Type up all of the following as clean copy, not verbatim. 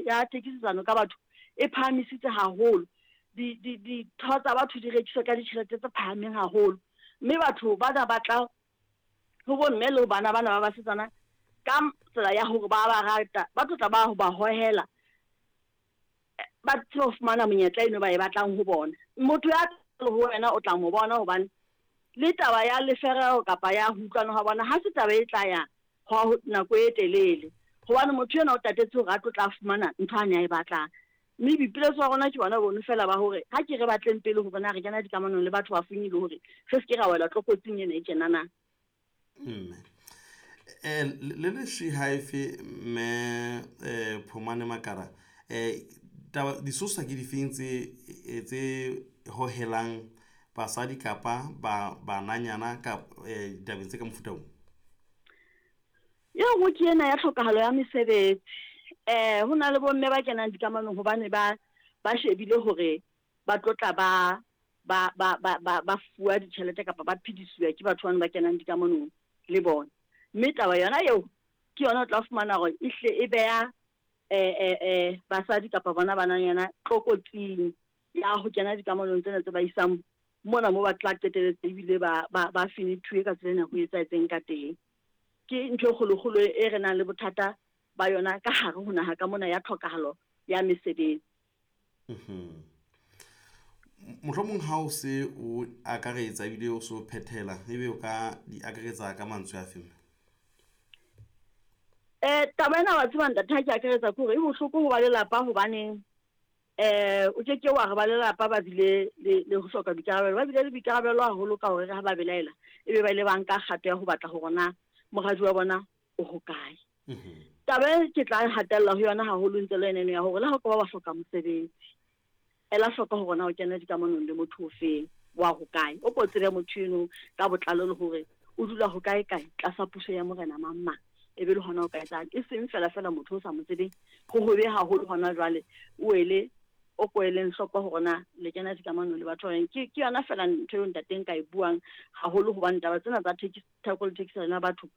ya thekisetsano ka batho e phahamisitse haholo. Di, di, ditho tsa batho di rekiswa ka ditjhelete tse phahameng haholo. Mme batho bana ba tla ho bomme le ho bana bana ba basetsana ka tsela ya hore ba ba rata, ba tlo tla ba ba hohela, ba tsebe ho fumana monyetla eno ba e batlang ho bona. Motho ya le ho wena o tla mo bona hobane le taba ya lefereho kapa ya ho utlwana ha bona ha se taba e tla ya hwa nako e telele, hobane motho enwa o tatetse hore a tlo tla fumana ntho a ne a e batlang. Mme boipiletso ba rona ke bona bono feela ba hore ha ke re batleng pele hore na re kena dikamanong le batho ba feng e le hore re se ke ra wela tlokotsing ena e tjena na. Mme eh, le le shi haefe mme eh, Phomane Makara eh, taba disosa ke difeng tse eh, tse hohelang basadi kapa ba bananyana ka eh, ditabeng tse ka mofuta o? E nngwe ke ena ya tlhokahalo ya mesebetsi. Um ho na le bomme ba kenang dikamanong hobane ba ba shebile hore ba tlo tla ba ba ba ba ba ba fuwa ditjhelete kapa ba phedisiwa ke batho bano ba kenang dikamanong le bona. Mme taba yona eo ke yona o tla fumana hore e hle e beha um basadi kapa bona bananyana tlokotsing ya ho kena dikamanong tsena tse ba isang mona mo ba tla qeteletse ebile ba ba ba fenethuwe ka tsela ena ho etsahetseng ka teng. Ke ntho e kgolokgolo e re nang le bothata ba yona ka hare ho naha ka mona ya tlhokahalo ya mesebetsi. Mohlomong ha o se o akaretsa ebile o se o phethela, ebe o ka di akaretsa ka mantswe a fe? Taba ena wa tseba ntate ha ke akaretsa ke hore e bohloko ho ba lelapa hobaneng o ke ke wa re ba lelapa ba bile le, le ho hloka boikarabelo. Ba bile le boikarabelo haholo ka hore ha ba belaela ebe ba ile ba nka kgato ya ho batla hore na moradi wa bona o hokae. Taba e ke tla hatella ho yona haholo ntse le ena ya hore le ha o ka ba wa hloka mosebetsi, ela hloko hore na o kena dikamanong le motho ofeng wa hokae. O ko tsebe motho eno ka botlalo le hore o dula hokae kae tlasa puso ya morena mang mang. E be le hona o ka etsang, e seng fela fela motho o sa mo tsebeng. Ho hobe haholo hona jwale o ele o ko eleng hloko hore na le kena dikamanong le batho ba bang. Ke ke yona fela ntho eo ntate nka e buang haholo hobane taba tsena tsa theko le thekisano ya batho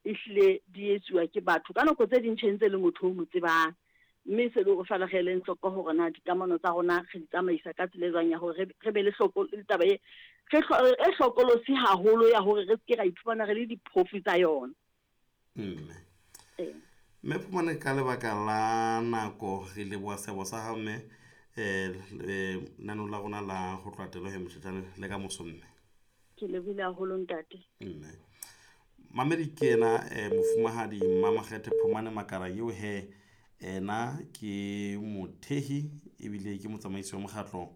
ehlile di etsuwa ke batho. Ka nako tse ding tjhe ntse le motho o mo tsebang. Mme se le hore fela re eleng hloko hore na dikamano tsa rona re di tsamaisa ka tsela e jwang ya hore re be le hloko le taba e re e hlokolosi haholo ya hore re se ke ra iphumana re le diphofu tsa yona. Mme mme Phumane, ka lebaka la nako re leboha seabo sa hao mme um lenaneo la rona la ho tloha telo he motjhetjane le ka moso mme. Ke lebohile haholo ntate. Mme mamedi ke ena mofumahadi Mmamakgethe Phumane Makara eo he ena ke mothehi ebile ke motsamaisi wa mokgatlo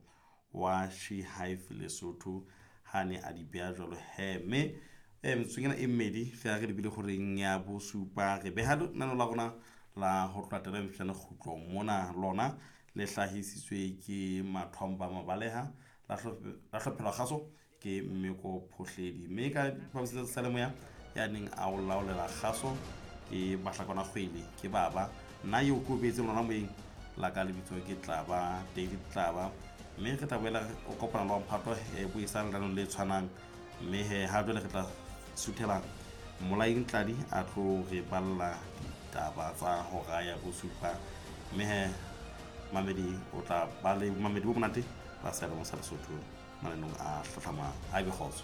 wa She Hive Lesotho ha ne a di beha jwalo he. Mme metsotsong ena e mmedi fela re lebile goreng ya bosupa re beha lenaneo la rona la ho tloha telo mehlano kgutlo mona lona le hlahisitswe ke Mathomba Mabaleha la hlophelwa kgaso ke Mmeko Phohledi mme ka diphaposing tsa seyalemoya ya neng a o laolela kgaso ke Bahlakwana Kgwele ke baba nna eo ke o beetseng lona moyeng la ka lebitso ke Tlaba David Tlaba mme re tla boela o kopana le wa mphato buisang lenaneong le tshwanang mme he ha jwale re tla suthela Mmolaing Tladi a tlo re balla ditaba tsa hora ya bosupa mme he mamedi o tla ba le mamedi bo monate ba seyalemoya sa Lesotho mananong a hlahlamang. A be kgotso.